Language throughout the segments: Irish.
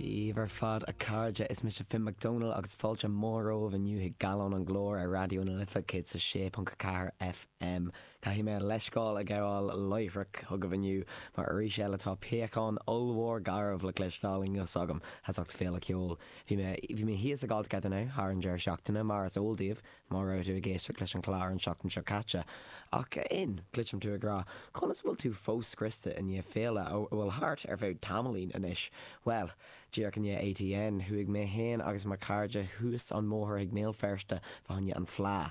Dia daoibh ar fad a chairde, is mise Finn Mac Dónaill agus fáilte mhór romhaibh inniu chuig Gallán an Ghlóir ar Raidió na Life 106.4 FM. Caithfidh mé leithscéal a ghabháil láithreach chugaibh inniu mar arís eile tá piachán ollmhór garbh le cloisteáil i nguth s'agam as ucht Féile Ceoil. Bhí mé bhí mé thíos ag All Together Now thar an deireadh seachtaine mar is eol daoibh má raibh tú ag éisteacht leis an chlár an tseachtain seo caite. Ach a Fhinn, cloisim tú ag rá, conas a bhfuil tú fós scriosta i ndiaidh féile a bhfuil thart ar feadh tamaillín anois? Bhuel, díreach i ndiaidh ATN, chuaigh mé féin agus mo chairde thuas an mbóthar chuig mBéal Feirste fá choinne an Fleadh.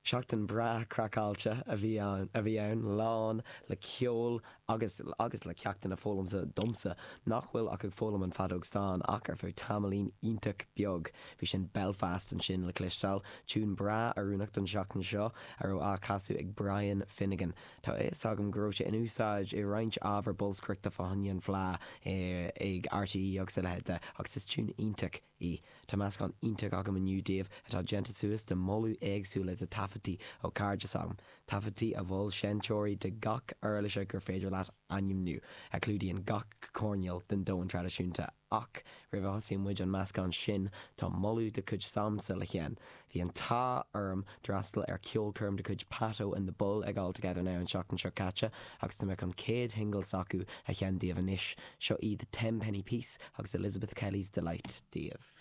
Seachtain breá craiceáilte a bhí ann, a bhí ann, lán le ceol agus agus le ceachtanna foghlamtha domsa, nach bhfuil ach ag foghlaim an feadóg stáin ach ar feadh tamaillín iontach beag. Bhí sin Belfast ansin le cloisteáil, tiún breá oiriúnach don seachtain seo, a raibh á casadh ag Brian Finnegan. Tá a fhios agam go raibh sé in úsáid i roinnt ábhar bolscaireachta fá choinne an Fleá ag RTÉ agus a leithéid de, agus is tiún iontach í. Tá meascán iontach agam inniu daoibh atá déanta suas de mholadh éagsúla de taifeadtaí ó chairde s'agam, taifeadtaí a mhol seinnteoirí de gach uirlise gur féidir leat ainmniú, a chlúdaíonn gach coirnéal den domhan traidisiúnta. Ach roimh a thosaíonn muid an meascán sin, tá moladh de chuid s'agamsa le sheinn. Bhí an t-ádh orm d'fhreastal ar ceolchoirm de chuid Patto and the Bull ag All Together Now an tseachtain seo caite agus tá mé chun céad shingil s'acu a sheinn daoibh anois. Seo í The Tenpenny Piece agus Elizabeth Kelly's Delight daoibh.